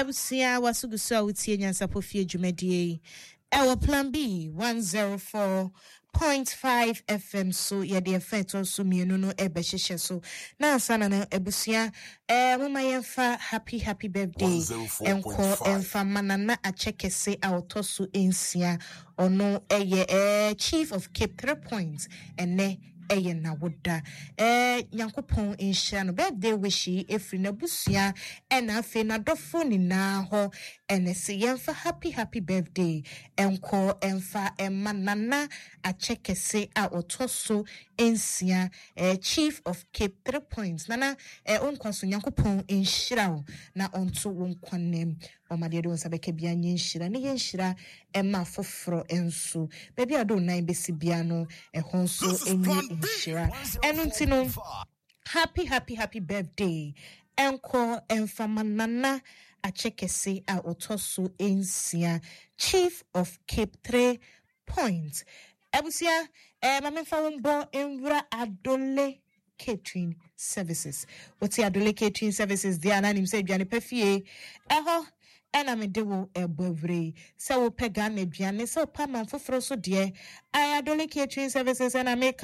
Abusua waso gu so a wotie Nyansapɔ Fie dwumadie yi ɛwɔ Plan B 104.5 FM so. Yɛde ɛfa ɛtɔ so mmienu no ɛbɛhyehyɛ so na ansa na no, abusua, moma yɛmfa happy happy birthday ɛnkɔ ɛmfa ma Nana Akyɛ Kɛse a ɔtɔ so 6. Ɔno ɛyɛ Chief of Cape Three Points. Ɛnɛ ɛyɛ n'awoda. Nyankopɔn nhyira no. Birthday wish yi ɛfiri n'abusua ɛna afei n'adɔfo nyinaa hɔ. Ɛnɛ sɛ yɛmfa happy happy birthday ɛnkɔ ɛmfa ɛma Nana Akyɛ Kɛse a ɔtɔ so 6, Chief of Cape Three Points. Nana, wonkwa so, Nyankopɔn nhyira wo na ɔnto wo nkwa nam. Ɔma deɛ de wo nsa bɛka bia nyɛ nhyira ne yɛ nhyira ɛma foforɔ nso. Baabi a wode wo nan bɛsi bia no, ɛhɔ nso ɛnyɛ nhyira. Ɛno nti no, happy happy happy birthday ɛnkɔ ɛmfama Nana Akyɛ Kɛse a ɔtɔ so 6, Chief of Cape Three Point. Abusua, ma memfa wo mbɔ nwura Adole Catering Services. Wote Adole Catering Services deɛ a, na nim sɛ aduane pa fie ɛhɔ ɛna mede wo ɛbɔ awure yi. Sɛ wopɛ Ghana aduane, sɛ wopɛ aman foforɔ so deɛ, ayɛ Adole Catering Services ɛna meka.